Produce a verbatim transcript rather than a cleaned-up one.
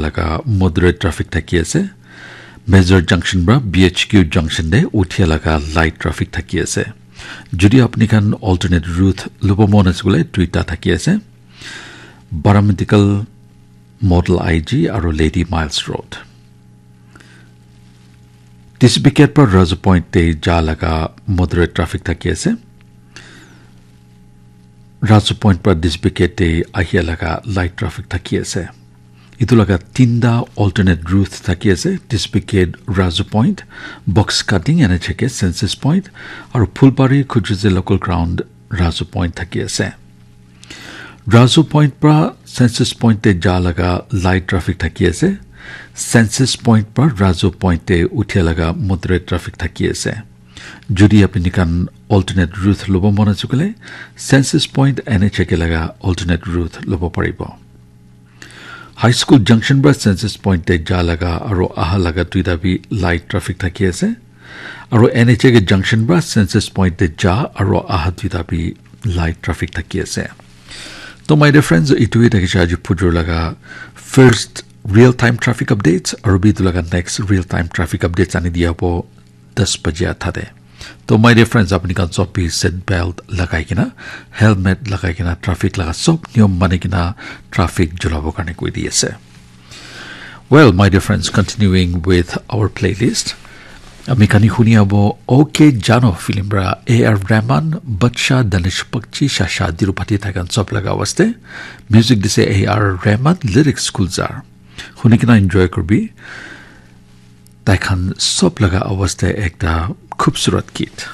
laga moderate traffic thaki ase. Major junction pra B H Q junction te uthia laga light traffic thaki ase. Jodi apni khan alternate route lobo mon ase koile duita thaki ase. Paramedical, Model I G aru Lady Miles Road. T C B Gate pra Razu Point te ja laga moderate traffic thaki ase. Razu Point pra T C B Gate te ahia laga light traffic thaki ase. Itu laga tinta alternate route thaki ase, T C B Gate, Razu Point, Box Cutting, N H A K, Census Point, aru Phulbari, Khujuze local ground, Razu Point thaki ase. Razu Point pra Census Point te ja laga light traffic thaki ase. Census Point pra Razu Point te uthia laga moderate traffic thaki ase. Jodi apni khan alternate route lobo mon ase koile, Census Point N H A K laga alternate route lobo paribo. High School Junction pra Census Point te ja laga aru aha laga duita bi light traffic thaki ase. Aru N H A K Junction pra Census Point te ja aru aha duita bi light traffic thaki ase. To my dear friends, itu hi thakise aji pujur laga first real time traffic updates, aru bi itu laga next real time traffic updates ani dia abo das baje athate. To my dear friends, apni khan sob bi seat belt lagai kena, helmet lagai kena, traffic laga sob niyom mani kena traffic chulabo karne koi di ase. Well, my dear friends, continuing with our playlist, ami khan huni abo OK Jano film pra A R Rahman, Badshah, Danish Bakshi, Shasha Tirupati, tai khan sob laga awaz te. Music dise A R Rahman, lyrics Gulzar. Huni kena enjoy kurbi. Tai khan sob laga awaz te ekta khubsurat git.